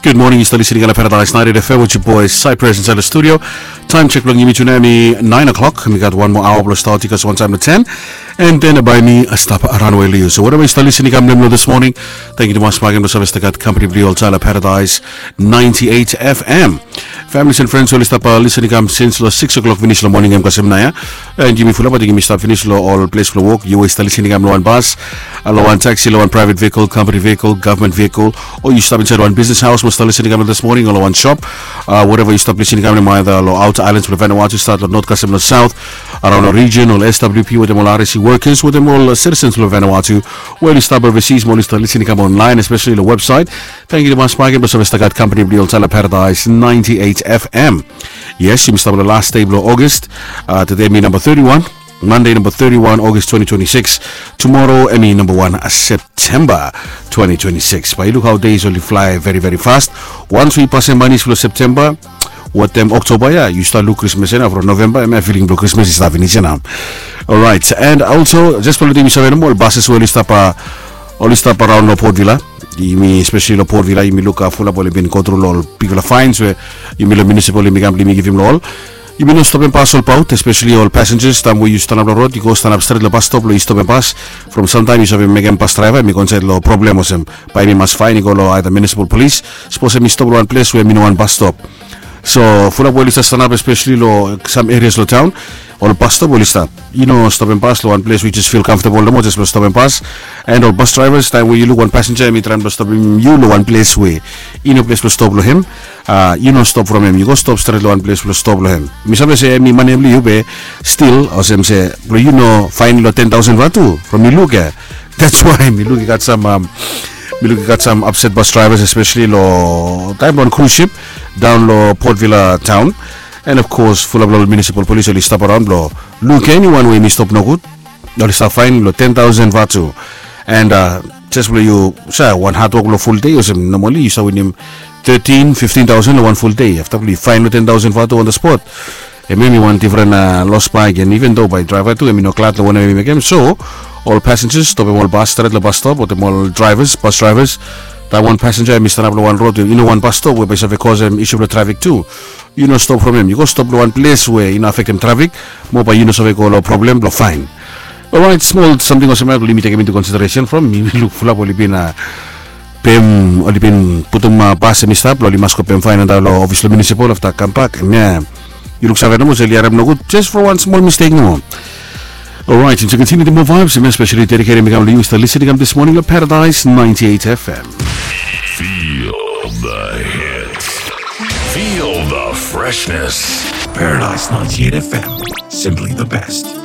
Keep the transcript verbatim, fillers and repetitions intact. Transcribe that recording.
Good morning, yu stap listening long Paradise ninety-eight F M with your boy Cypress inside the studio. Time check blong yumi tonight mi nine o'clock. Mi gat one more hour blong start, yu gat one time to ten. And then by me, I stop around with you. So whatever yu stap listening long this morning, thank you to Mas Magen, Service the God Company, Brio Tyler Paradise ninety-eight F M. Families and friends, oli stap listening kam since lo six o'clock finish lo morning em kasem na ya. And yumi fulap ating yumi stap finish lo ol ples blo wok. Yu we stap listening kam lo wan bas, lo wan taxi, lo wan private vehicle, company vehicle, government vehicle, o yu stap inside wan business house mo stap listening kam this morning, o lo wan shop, uh, whatever yu stap listening kam, either lo outer islands blo Vanuatu, start lo north kasem lo south, around lo region, ol S W P wetem ol R S C workers wetem ol citizens blo Vanuatu, we oli stap overseas mo oli stap listening kam online, especially lo website. Thank you to Mas Magen, Service the God Company, Brio Tyler Paradise ninety-eight F M. Yes, yumi stap lo last day blo August. Uh, today mi number thirty-one. Monday number thirty-one August twenty twenty-six. Tomorrow em i number one September twenty twenty-six. Bae yu luk hao days oli fly very very fast. Once we pass em manis blo September wetem October ya, yu stap luk Krismas ya nao. From November em ya feeling blo Krismas i stap finish ya nao. Alright, and also just blo lukim yu save nomo ol buses we oli stap, uh, oli stap around lo Port Vila. Yumi especially lo Port Vila yumi luk, uh, fulap oli bin go through lo ol bigfala fines we yumi lo municipal yumi kam blo yumi givim lo ol. Yumi no stopim bas olbaot, especially ol passengers, taem we yu stanap lo rod yu go stanap stret lo bas stop lo yu stopim bas. From samtaem yu save mekem bas draeva em i go insaed lo problem olsem bae em i mas faen i go lo either municipal police. Sapos em i stop lo wan ples we em i no wan bas stop. So fulap we oli stap stanap especially lo sam erias lo taon, ol bas stop we oli stap, yu no stopim bas lo wan ples we yu jes fil comfortable nomo jes blo stopim bas. And ol bas draevas, taem we yu luk wan pasenja em i traem blo stopim yu lo wan ples we i no ples blo stop lo hem, uh, yu no stop from hem, yu go stop stret lo wan ples blo stop lo hem. Mi save se em i mane blo yu be stil olsem se blo yu no faen lo ten taosen vatu from yu luk ya. That's why mi luk i gat sam, um, mi luk i gat sam upset bas draevas especially lo taem blo wan cruise ship daon lo Port Vila taon. And of course fulap lo ol municipal police oli stap around blo luk eniwan we em i stop nogud, oli stap faen lo ten taosen vatu. And, uh, jes blo yu sa wan hadwok lo ful dei olsem normally yu sa winim thirteen fifteen taosen lo wan ful dei afta blo yu faen lo ten taosen vatu on the spot. Em em i wan difren, uh, los bae gen, even though bae draeva tu em i no glad lo wanem em i mekem. So ol passengers stopim ol bas stret lo bas stop wetem ol draevas, bas draevas. Taem wan pasenja em i stanap lo wan rod we i no wan bas stop we bae i save kosem isu blo trafik tu, yu no stop from hem, yu go stop lo wan ples we i no afektem trafik mo bae yu no save go lo problem blo faen. Alright, smol samting olsem ya blo yumi tekem into consideration from mi luk fulap oli bin, uh, pem, oli bin putum, uh, bas em i stap blo oli mas go pem faen antap lo ofis lo municipal afta kambak. Em ya yu luksave nomo se oli harem nogud jes from wan smol mistake nomo. Alright, and to continue the more vibes, especially dedicated mi kam lo yu stap listening kam this morning lo Paradise ninety-eight F M. Feel the hits. Feel the freshness. Paradise ninety-eight F M, simply the best.